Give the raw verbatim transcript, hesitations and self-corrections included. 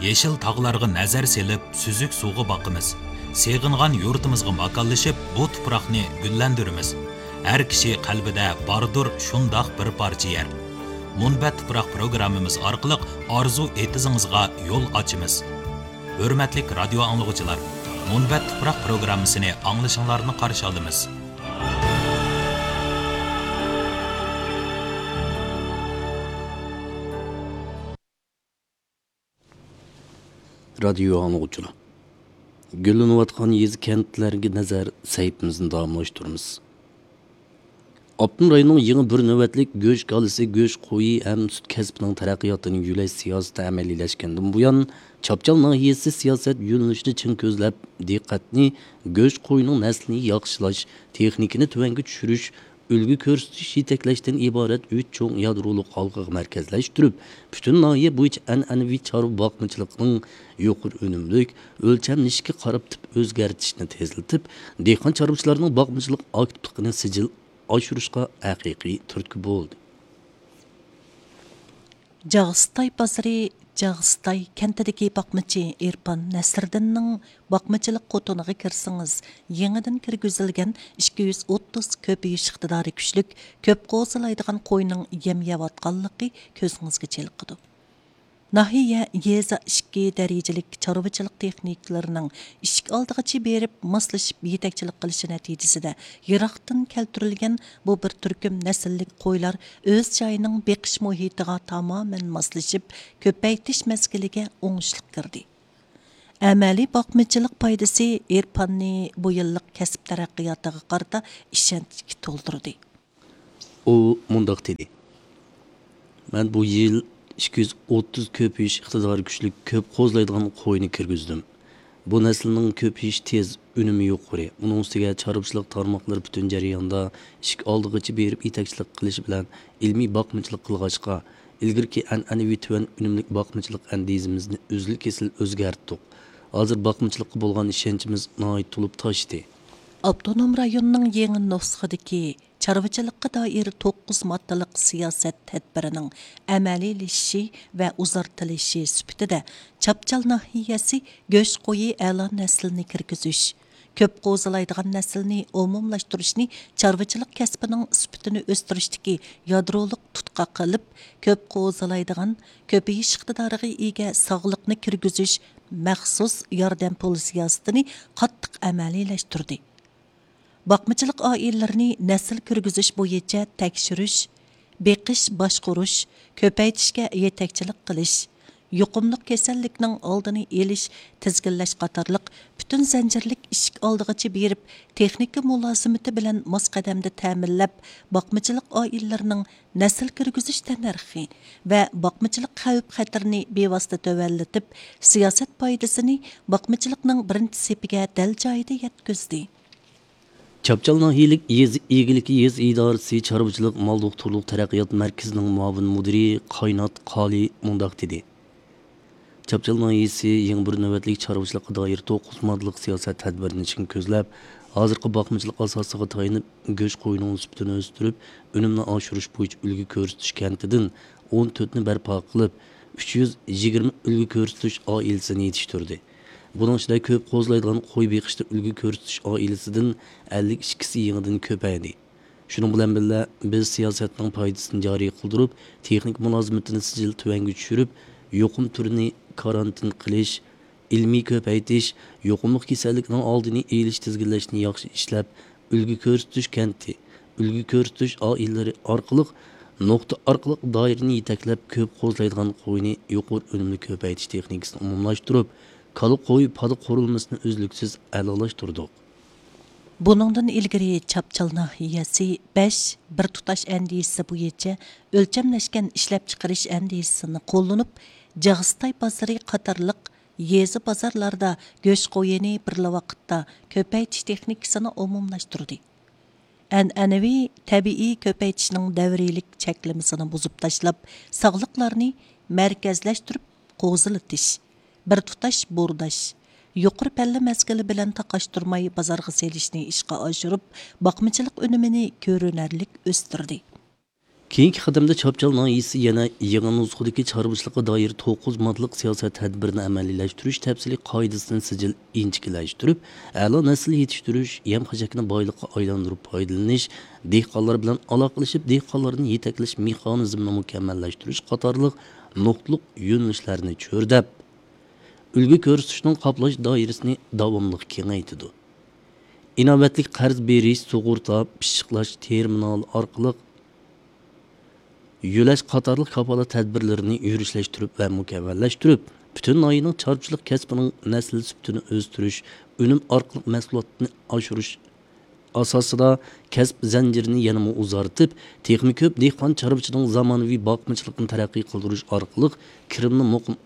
يېشىل تاغلارغا نەزەر سېلىپ، سۈزۈك سۇغا باقىمىز. سېغىنغان يۇرتىمىزغا ماكانلىشىپ، بۇ تۇپراقنى گۈللەندۈرىمىز. ھەر كىشى قەلبىدە باردۇر شۇنداق بىر پارچە يەر. مۇنبەت تۇپراق پروگراممىمىز ئارقىلىق ئارزۇ ئېتىزىڭىزغا يول ئاچىمىز. ھۆرمەتلىك رادىيو ئاڭلىغۇچىلار، مۇنبەت تۇپراق پروگراممىسىنى ئاڭلىشىڭلارنى قارشى ئالىمىز. رادىيو ئاڭلىغۇچىلار، گۈللىنىۋاتقان يېزا، كەنتلەرگە نەزەر سەھىپىمىزنى داۋاملاشتۇرىمىز. ئاپتونوم رايوننىڭ يېڭى بىر نۆۋەتلىك گۆش كالىسى، گۆش قويى ھەم سۈت كەسپىنىڭ تەرەققىياتىنى يۆلەش سىياسىتى ئەمەلىيلەشكەندىن بۇيان، چاپچال ناھىيەسى سىياسەت يۆنىلىشىنى چىڭ كۆزلەپ، دىققەتنى گۆش قويىنىڭ نەسلىنى ياخشىلاش، تېخنىكىنى تۆۋەنگە چۈشۈرۈش، ئۈلگە كۆرسىتىش، يېتەكلەشتىن ئىبارەت ئۈچ چوڭ يادرولۇق ھالقىغا مەركەزلەشتۈرۈپ، پۈتۈن ناھىيە بويىچە ئەنئەنىۋى چارۋا باقمىچىلىقىنىڭ يۇقىرى ئۈنۈملۈك، ئۆلچەملىشىشكە قاراپ تىپ ئۆزگەرتىشنى تېزلىتىپ، دېھقان چارۋىچىلارنىڭ باقمىچىلىق ئاكتىپلىقىنى سىجىل ئاشۇرۇشقا ھەقىقىي تۈرتكە بولدى. جاغىستاي بازىرى، جاغىستاي كەنتىدىكى باقمىچى ئېرپان نەسىردىننىڭ باقمىچىلىق قوتىنىغا كىرسىڭىز، يېڭىدىن كىرگۈزۈلگەن ئىككى يۈز ئوتتۇز كۆپىيىش ئىقتىدارى كۈچلۈك، كۆپ قوزىلايدىغان قوينىڭ يەم يەۋاتقانلىقى كۆزىڭىزگە چېلىقىدۇ. ناھىيە، يېزا ئىككى دەرىجىلىك چارۋىچىلىق تېخنىكلىرىنىڭ ئىشىك ئالدىغىچە بېرىپ ماسلىشىپ يېتەكچىلىك قىلىشى نەتىجىسىدە، يىراقتىن كەلتۈرۈلگەن بۇ بىر تۈركۈم نەسىللىك قويلار ئۆز جايىنىڭ بېقىش مۇھىتىغا تامامەن ماسلىشىپ، كۆپەيتىش مەزگىلىگە ئوڭۇشلۇق كىردى. ئەمەلىي باقمىچىلىق پايدىسى ئېرپاننى بۇ يىللىق كەسىپ تەرەققىياتىغا قارىتا ئىشەنچكە تولدۇردى. ئۇ مۇنداق دېدى: مەن بۇ يىل ئىككى يۈز ئوتتۇز كۆپىيىش ئىقتىدارى كۈچلۈك، كۆپ قوزىلايدىغان قوينى كىرگۈزدۈم. بۇ نەسىلنىڭ كۆپىيىشى تېز، ئۈنۈمى يۇقىرى. ئۇنىڭ ئۈستىگە چارۋىچىلىق تارماقلىرى پۈتۈن جەرياندا ئىشىك ئالدىغىچە بېرىپ يېتەكچىلىك قىلىشى بىلەن ئىلمىي باقمىچىلىق قىلغاچقا، ئىلگىرىكى ئەنئەنىۋى تۆۋەن ئۈنۈملۈك باقمىچىلىق ئەندىزىمىزنى ئۈزۈل-كېسىل ئۆزگەرتتۇق. ھازىر باقمىچىلىققا بولغان ئىشەنچىمىز ناھايىتى تولۇپ تاشتى. ئاپتونوم رايوننىڭ يېڭى نۇسخىدىكى چارۋىچىلىققا دائىر توققۇز ماددىلىق سىياسەت تەدبىرىنىڭ ئەمەلىيلىشىشى ۋە ئۇزارتىلىشى سۈپىتىدە، چاپچال ناھىيەسى گۆش قويى ئەلا نەسلىنى كىرگۈزۈش، كۆپ قوزىلايدىغان نەسىلنى ئومۇملاشتۇرۇشنى چارۋىچىلىق كەسپىنىڭ سۈپىتىنى ئۆستۈرۈشتىكى يادرولۇق تۇتقاق قىلىپ، كۆپ قوزىلايدىغان، كۆپىيىش ئىقتىدارىغا ئىگە ساغلىقنى كىرگۈزۈش مەخسۇس ياردەم پۇل سىياسىتىنى قاتتىق ئەمەلىيلەشتۈردى. باقمىچىلىق ئائىلىلىرىنى نەسىل كىرگۈزۈش بويىچە تەكشۈرۈش، بېقىش، باشقۇرۇش، كۆپەيتىشكە يېتەكچىلىك قىلىش، يۇقۇملۇق كېسەللىكنىڭ ئالدىنى ئېلىش، تىزگىنلەش قاتارلىق پۈتۈن زەنجىرلىك ئىشىك ئالدىغىچە بېرىپ، تېخنىكا مۇلازىمىتى بىلەن ماس قەدەمدە تەمىنلەپ، باقمىچىلىق ئائىلىلىرىنىڭ نەسىل كىرگۈزۈش تەننەرخى ۋە باقمىچىلىق خەۋپ خەتىرىنى بىۋاسىتە تۆۋەنلىتىپ، سىياسەت پايدىسىنى باقمىچىلىقنىڭ بىرىنچى سېپىگە دەل جايىدا يەتكۈزدى. چاپچال ناھىيەلىك يېزا ئىگىلىكى يېزا ئىدارىسى چارۋىچىلىق مال دوختۇرلۇق تەرەققىيات مەركىزىنىڭ مۇئاۋىن مۇدىرى قاينات قالى مۇنداق دېدى: چاپچال ناھىيەسى يېڭى بىر نۆۋەتلىك چارۋىچىلىققا دائىر توققۇز ماددىلىق سىياسەت تەدبىرىنى چىڭ كۆزلەپ، ھازىرقى باقمىچىلىق ئاساسىغا تايىنىپ، گۆش قويىنىڭ سۈپىتىنى ئۆستۈرۈپ، ئۈنۈمنى ئاشۇرۇش بويىچە ئۈلگە كۆرسىتىش كەنتىدىن ئون تۆتنى بەرپا قىلىپ، ئۈچ يۈز يىگىرمە ئۈلگە كۆرسىتىش ئائىلىسىنى يېتىشتۈردى. بۇنىڭ ئىچىدە كۆپ قوزىلايدىغان قوي بېقىشتا ئۈلگە كۆرسىتىش ئائىلىسىدىن ئەللىك ئىككىسى يېڭىدىن كۆپەيدى. شۇنىڭ بىلەن بىللە، بىز سىياسەتنىڭ پايدىسىنى جارى قىلدۇرۇپ، تېخنىكا مۇلازىمىتىنى سىجىل تۆۋەنگە چۈشۈرۈپ، يۇقۇم تۈرىنى كارانتىن قىلىش، ئىلمىي كۆپەيتىش، يۇقۇملۇق كېسەللىكنىڭ ئالدىنى ئېلىش، تىزگىنلەشنى ياخشى ئىشلەپ، ئۈلگە كۆرسىتىش كەنتى، ئۈلگە كۆرسىتىش ئائىلىلىرى ئارقىلىق نۇقتا ئارقىلىق دائىرىنى يېتەكلەپ، كۆپ قوزىلايدىغان قوينى يۇقىرى ئۈنۈملۈك كۆپەيتىش تېخنىكىسىنى ئومۇملاشتۇرۇپ، كالا قوي پادا قۇرۇلمىسىنى ئۈزلۈكسىز ئەلالاشتۇردۇق. بۇنىڭدىن ئىلگىرى چاپچال ناھىيەسى بەش بىر تۇتاش ئەندىزىسى بويىچە ئۆلچەملەشكەن ئىشلەپچىقىرىش ئەندىزىسىنى قوللىنىپ، جاغىستاي بازىرى قاتارلىق يېزا بازارلاردا گۆش قويىنى بىرلا ۋاقىتتا كۆپەيتىش تېخنىكىسىنى ئومۇملاشتۇردى. ئەنئەنىۋى تەبىئىي كۆپەيتىشنىڭ دەۋرىيلىك چەكلىمىسىنى بۇزۇپ تاشلاپ، ساغلىقلارنى مەركەزلەشتۈرۈپ قوزىلىتىش، بىر تۇتاش بورداش، يۇقىرى پەللە مەزگىلى بىلەن تاقاشتۇرماي بازارغا سېلىشنى ئىشقا ئاشۇرۇپ، باقمىچىلىق ئۈنۈمىنى كۆرۈنەرلىك ئۆستۈردى. كېيىنكى قەدەمدە چاپچال ناھىيەسى يەنە يېڭى نۇسخىدىكى چارۋىچىلىققا دائىر توققۇز ماددىلىق سىياسەت تەدبىرىنى ئەمەلىيلەشتۈرۈش تەپسىلىي قائىدىسىنى سىجىل ئىنچىكىلەشتۈرۈپ، ئەلا نەسىل يېتىشتۈرۈش، يەم-خەشەكنى بايلىققا ئايلاندۇرۇپ پايدىلىنىش، دېھقانلار بىلەن ئالاقىلىشىپ، دېھقانلارنى يېتەكلەش مېخانىزمىنى مۇكەممەللەشتۈرۈش قاتارلىق نۇقتىلىق يۆنىلىشلەرنى چۆرىدەپ، ئۈلگە كۆرسىتىشنىڭ قاپلاش دائىرىسىنى داۋاملىق كېڭەيتىدۇ. ئىناۋەتلىك قەرز بېرىش، سۇغۇرتا، پىششىقلاش تېرمىنالى ئارقىلىق يۆلەش قاتارلىق كاپالەت تەدبىرلىرىنى يۈرۈشلەشتۈرۈپ ۋە مۇكەممەللەشتۈرۈپ، پۈتۈن ناھىيەنىڭ چارۋىچىلىق كەسپىنىڭ نەسىل سۈپىتىنى ئۆستۈرۈش، ئۈنۈم ئارقىلىق مەھسۇلاتنى ئاشۇرۇش ئاساسىدا كەسىپ زەنجىرىنى يەنىمۇ ئۇزارتىپ، تېخىمۇ كۆپ دېھقان چارۋىچىنىڭ زامانىۋى باقمىچىلىقىنى تەرەققىي قىلدۇرۇش ئارقىلىق كىرىمنى مۇقىم